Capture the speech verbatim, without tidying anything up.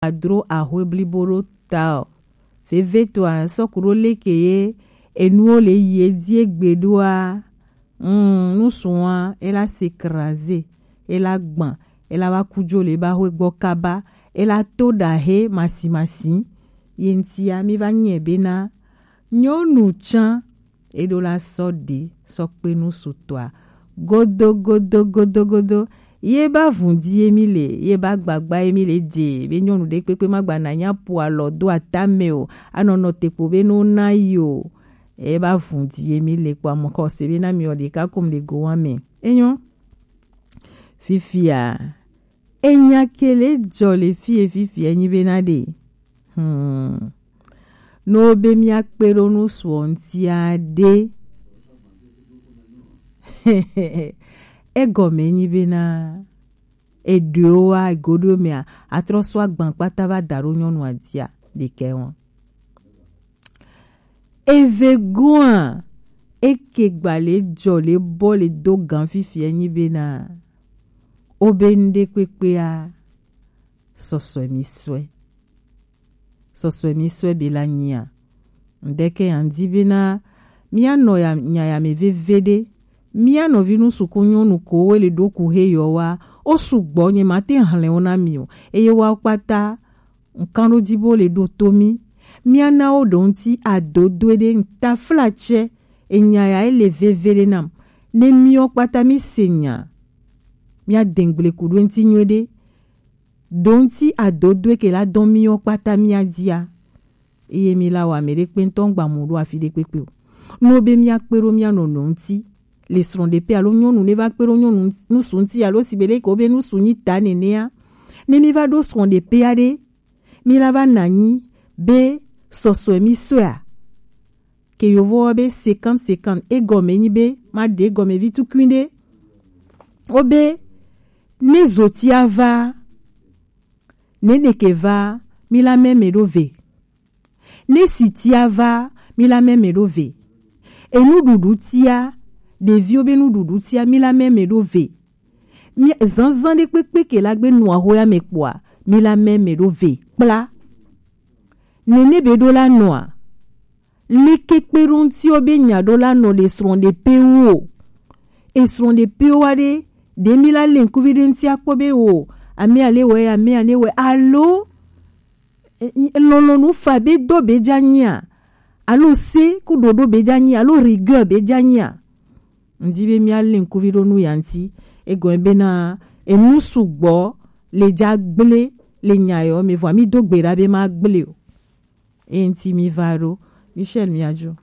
adro ahwe blibo ɖo ta o. Veve to a sɔku ɖo leke ye enuwo le yi edzi egbe ɖoa. Mm, nusu a ela s'écraser, ela gbã, ela va ku jo le ba hwe gbɔ kaba, ela to ɖa he masi masi. Ye ŋtia mi va nyɛ bena nyɔnu tsã eɖo la sɔ ɖe sɔ kpe nusu tɔa godo godo godo godo. Ye ba vun di ye mi le, ye ba gbagba ye mi le dze be nyɔnu ɖe kpekpe ma gba na nya po alɔ do atame o, anɔnɔ tekpo be no na yi o. Ye ba vun di ye mi le kpɔ amɔ kɔ se be na mi ɔ ɖeka kom le go wa me. Enyo. Fifia, enya ke le jɔ le fie fifia enyi be na ɖe. Hmm. No be mia kpe ɖo nu suɔ ŋtia ɖe. Egɔme nyi bena eɖewo wa egoɖo mea atrɔ sɔ agban kpata va da ɖo nyɔnu adia ɖekɛ wɔn. Eve goa eke gba le jɔ le bɔ le do gan fifia nyi bena obe ŋɖe kpekpea sɔsɔe mi sɔe. Sɔsɔe mi sɔe be la nyia. Ŋdeke ya ŋdi bena mia nɔ ya nya ya me veve ɖe. Mia nɔvi nu suku nyɔnu ko wo le ɖo ku he yɔ wa. O sugbɔ nye ma te hlɛ wo na mi o. Eye wa kpata ŋkan ɖo dzi bo le ɖo to mi. Mia na wo ɖo ŋti adodoe ɖe ŋtafla tsɛ. Enya ya ele veve ɖe nam. Ne miɔ kpata mi se nya. Mia dengble ku ɖo ŋti nyuie ɖe. Ɖo ŋti adodoe ke la dɔn miɔ kpata mia dzia. Eye mi la wa me ɖe kpe ŋtɔ ŋgba mu ɖo afi ɖe kpekpe o. No be mia kpe ɖo mia nɔnɔ ŋti. Le srɔ̃ɖeƒe alo nyɔnu ne va kpe ɖo nyɔnu nusu ŋti alo si be leke wobe nusu nyi ta nenea. Ne mi va ɖo srɔ̃ɖeƒea ɖe, mi la va na anyi be sɔsɔe mi sɔea. Ke yovo wa be cinquante cinquante egɔme nyi be ma ɖe egɔme vi tukui ɖe. Wobe ne zotia va, ne neke va, mi la mɛmɛ ɖo ve. Ne sitia va, mi la mɛmɛ ɖo ve. Enuɖuɖu tia, ɖeviwo be nuɖuɖu tia, mi la mɛmɛ ɖo ve. Mi zanzan ɖe kpekpe ke la gbe nua hoya me kpɔa, mi la mɛmɛ ɖo ve kpla. Nene be ɖo la nɔa, leke kpe ɖo ŋtiwo be nya ɖo la nɔ le srɔ̃ɖeƒewo o. Esrɔ̃ɖeƒewo wa ɖe, ɖe mi la le ŋkuvi ɖe ŋti akpɔ be o, ame ale wɛ, ame ale wɛ, alo lɔlɔnu fa be dɔ be dza nyia, alo se ku ɖoɖo be dza nyia, alo rigueur be dza nyia. Ŋdi be mia le ŋkuvi ɖo nu ya ŋti. Egɔme bena enu sugbɔ le dza gble le nya yɔ me vɔa mi do gbe ɖa be ma gble o. Eye ŋti mi va ɖo. Michel miadzo.